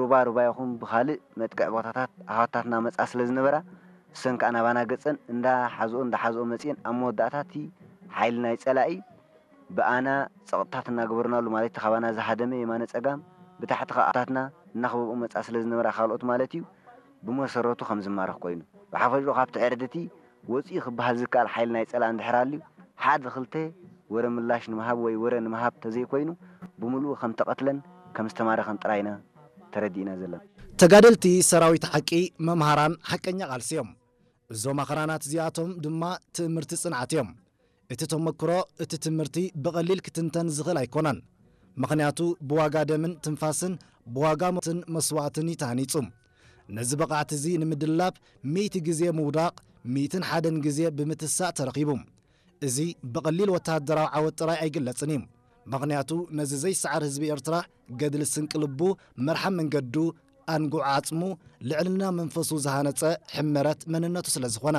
ሩባ ሩባ ይኹን ብኻልእ መጥቅዕ ቦታታት ኣሕዋታትና መጻ ስለ ዝነበራ፣ እሰን ከኣ ናባና ገጸን እንዳ ሓዝኦ እንዳ ሓዝኦ መጺኤን፣ ኣብ መወዳእታ እቲ ሓይሊ ናይ ጸላኢ ብኣና ጸቕጥታት እናገበርናሉ፣ ማለት እቲ ካባና ዝሃደመ የማነ ጸጋም ብታሕቲ ከኣ ኣሕዋታትና እናኸበብኦ መጻ ስለ ዝነበራ፣ ካልኦት ማለት እዩ፣ ብመሰረቱ ከም ዝማረኽ ኮይኑ። ብሓፈሽኡ ካብቲ ዕርድቲ ወጺኡ ክበሃል ዝከኣል ሓይሊ ናይ ጸላኢ እንድሕር ኣልዩ፣ ሓደ ክልተ ወረ ምላሽ ንምሃብ ወይ ወረ ንምሃብ ተዘይኮይኑ፣ ብምሉኡ ከም ተቐትለን ከም ዝተማረኸን ጥራይ ኢና ተረዲእና ዘለና። ተጋደልቲ ሰራዊት ሓቂ፣ መምሃራን ሓቀኛ ቃልሲ እዮም። እዞም ኣኽራናት እዚኣቶም ድማ ትእምርቲ ጽንዓት እዮም። እቲ ተመክሮ፣ እቲ ትምህርቲ ብቐሊል ክትንተን ዝኽእል ኣይኮነን። ምኽንያቱ ብዋጋ ደምን ትንፋስን፣ ብዋጋ ሞትን መስዋእትን እዩ ተሃኒጹ። ነዚ ብቕዓት እዚ ንምድላብ ሚእቲ ግዜ ምውዳቕ፣ ሚእትን ሓደን ግዜ ብምትሳእ ተረኺቡ። እዚ ብቐሊል ወተሃደራዊ ዓወት ጥራይ ኣይግለጽን እዩ። ምኽንያቱ ነዚ ዘይሰዓር ህዝቢ ኤርትራ ገድሊ ስንቂ ልቡ፣ መርሓ መንገዱ፣ ኣንጉዕ ዓጽሙ፣ ልዕልና መንፈሱ ዝሃነጸ ሕመረት መንነቱ ስለ ዝኾነ።